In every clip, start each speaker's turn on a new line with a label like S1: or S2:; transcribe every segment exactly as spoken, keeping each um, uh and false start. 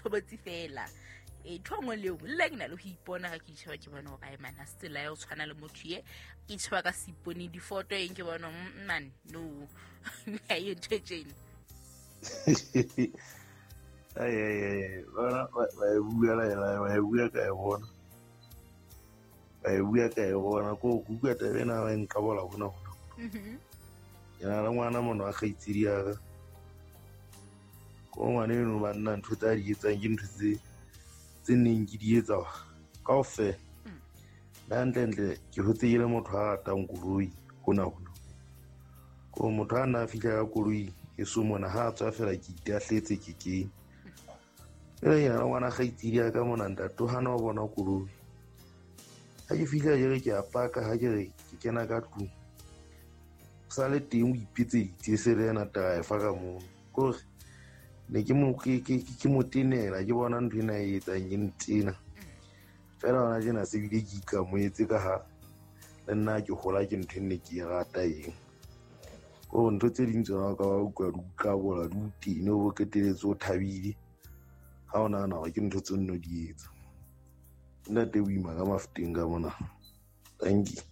S1: tshobotsi fela. E ntho nngwe le nngwe le nna ke na le ho ipona ha ke itjheba ke bona hore ai man ha se tsela ya ho tshwana le motho ye ke itjheba ka seipone difoto eng ke bona man no ha e ntho e tjena.
S2: Ai ai ai bona ba e bua la ela ba e bua ka e bona ba e bua ka e bona ko go bua taba ena ba nqabola hona hona.
S1: Mhm.
S2: Ke na le ngwana mona wa kgaitsedi ya ka. Ko ngwana eno ba nna ntho tsa di etsang ke ntho tse tse neng ke di etsa kaofela. Nna hantlentle ke hotse ke le motho a ratang koloi hona hona. Ko motho a nna a fihla ka koloi e so mona ha a tswa fela ke itahletse ke kene. Jwale ke na le ngwana kgaitsedi ya ka mona ntate o hana ho bona koloi. Ha ke fihla ke re ke a paka ha ke re ke kena ka tlung. O sa le teng o ipetseditse se le ena driver ka mono. Kore ne ke mo ke ke ke mo tenela ke bona ntho ena e etsang ke ntena. Fela hona tjena se bile ke ikamohetse ka ha le nna ke hola ke ntho e ne ke e rata eng. Kore ntho tse ding tsona o ka ba utlwa di utlwabola di o tene o bo qetelletse o thabile. Ha o nahana hore ke ntho tse nno di etsa. Ntate Boima ka Mafeteng ka mona. Thank you.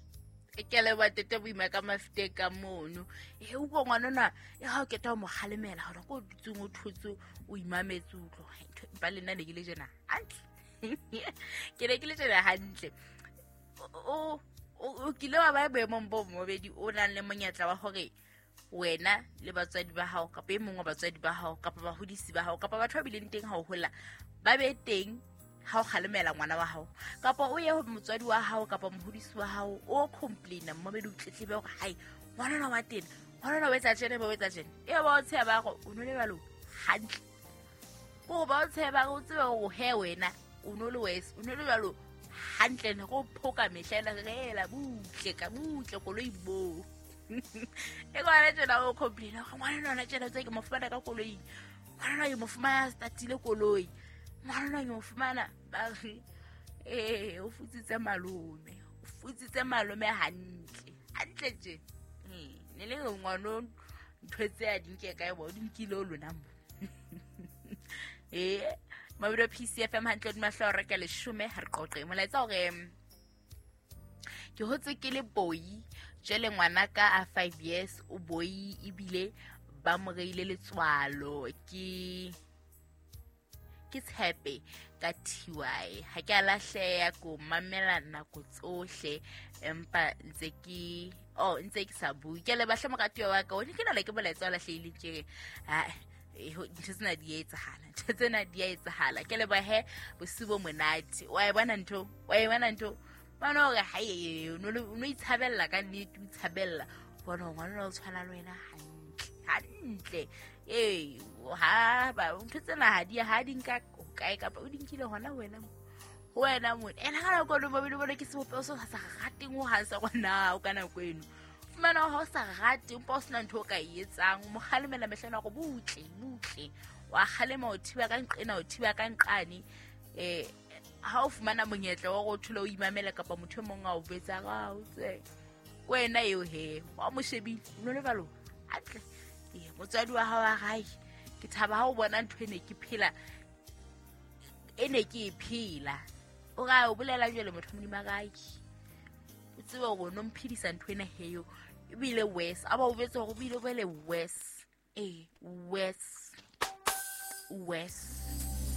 S1: Ke leboha tete Boima ka Mafeteng ka mono. E utlwa ngwana ona e ha o keta ho mo kgalemela hore ko dutseng o thotse o imametse utlwa. Ntho ba le nna ne ke le jena hantle. Ke ne ke le jena hantle. O o kile wa ba boemong bo mobedi o nang le monyetla wa hore wena le batswadi ba hao kapa e mong wa batswadi ba hao kapa bahodisi ba hao kapa batho ba bileng teng ha o hola ba be teng ha o kgalemela ngwana wa hao kapa o ye ho motswadi wa hao kapa mohodisi wa hao o complaina mmobedi o tletlebe hore hai ngwana ona wa tena ngwana ona o etsa tjena ba o etsa tjena e ba o tsheba hore o no le balo hantle ko ba o tsheba o tsebe hore he wena o no le wes o no le balo hantle ne go phoka mehla ena re butle ka butle koloi bo e ngwana tjena o complaina hore ngwana ona tjena tse ke mo fumana ka koloi ngwana ona ke mo fumana statile koloi ngwana ke mo fumana ba re eh o futsitse malome o futsitse malome hantle hantle tje eh ne le ngwana ntho tse a di nke kae bo di nkile o lona mo eh Mabelo P C F M hantle di mahlo re ka leshome ha re qoqe molaetsa hore ke hotse ke le boi jele ngwana ka a five years o boi ebile ba mo reile letswalo ke ke tshepe ka T Y ha ke a lahleha ko mamela nako tsohle empa ntse ke oh ntse ke sa bue ke le bahle moratuwa wa ka o ne ke na le ke molaetsa o lahlehileng ke ha ntho tsena di etsahala ntho tsena di etsahala ke le ba he bosiu bo monate wa e bona ntho wa e bona ntho bona hore ha e no no itshabella ka nnete o itshabella bona ngwana o tshwana le wena hantle hantle ee ha ba ntho tsena ha di ha di nka kae kapa o di nkile hona wena ho wena mona ena ka nako eno mobile bona ke sebopeho se sa rateng ho hang sa rona o ka nako eno fumana ha o sa rate empa o sena ntho o ka e etsang o mo kgalemela mehla ena hore butle butle wa kgalema o thiba ka nqena o thiba ka nqane eh ha o fumana monyetla wa hore o thole o imamela kapa motho e mong a o betsa ga o tse wena eo he wa mo shebile o no le balo hantle ee motswadi wa hao wa gae ke thaba ha o bona ntho e ne ke phela e ne ke e phela o ga o bolela jwale motho modimo a gae o tsebe hore o no mphedisa ntho ena heyo ebile worse a ba o betse hore o bile bele worse ee worse worse.